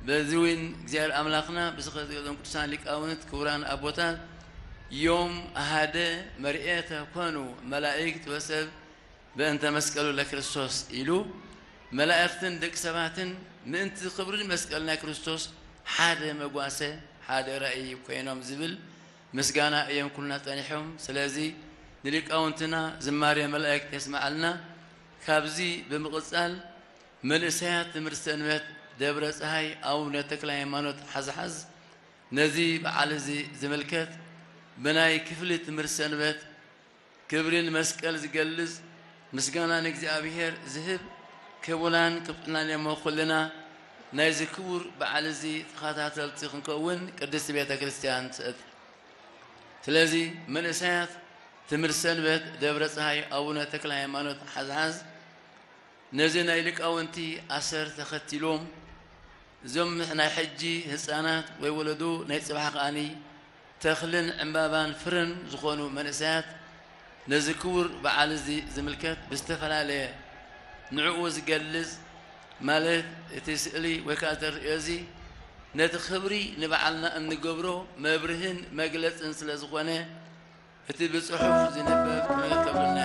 በዚ እውን እግዚኣብሔር ኣምላኽና ብስኸ ዝገለጾም ቅዱሳን ሊቃውንት ክቡራን ኣቦታት ዮም ኣሃደ መርኤተ ኮኑ መላእክት ወሰብ በእንተ መስቀሉ ለክርስቶስ ኢሉ መላእኽትን ደቂ ሰባትን ምእንቲ ክብሪ መስቀል ናይ ክርስቶስ ሓደ መጓሰ ሓደ ራእይ ኮይኖም ዝብል ምስጋና እዮም ኩልና ጸኒሖም። ስለዚ ንሊቃውንትና ዝማሬ መላእክት የስምዓልና። ካብዚ ብምቕጻል መንእሰያት ትምህርቲ ሰንበት ደብረ ፀሃይ ኣቡነ ተክለ ሃይማኖት ሓዝሓዝ ነዚ በዓል እዚ ዝምልከት ብናይ ክፍሊ ትምህርቲ ሰንበት ክብሪ ንመስቀል ዝገልጽ ምስጋና ንእግዚኣብሔር ዝህብ ክቡላን ክብጥናን እሞ ኩልና ናይዚ ክቡር በዓል እዚ ተኸታተልቲ ክንከውን ቅድስቲ ቤተ ክርስቲያን ትእት። ስለዚ መንእሰያት ትምህርቲ ሰንበት ደብረ ፀሃይ ኣቡነ ተክለ ሃይማኖት ሓዝሓዝ ነዚ ናይ ሊቃውንቲ ኣሰር ተኸቲሎም እዞም ናይ ሕጂ ህፃናት ወይ ወለዶ ናይ ፅባሕ ከኣኒ ተኽልን ዕምባባን ፍርን ዝኾኑ መንእሰያት ነዚ ክቡር በዓል እዚ ዝምልከት ብዝተፈላለየ ንዕኡ ዝገልጽ ማለት እቲ ስእሊ ወይ ከዓ ተርእዮ እዚ ነቲ ክብሪ ንበዓልና እንገብሮ መብርህን መግለጽን ስለ ዝኾነ እቲ ብጽሑፍ ዝንበብ ክንብል ከብልና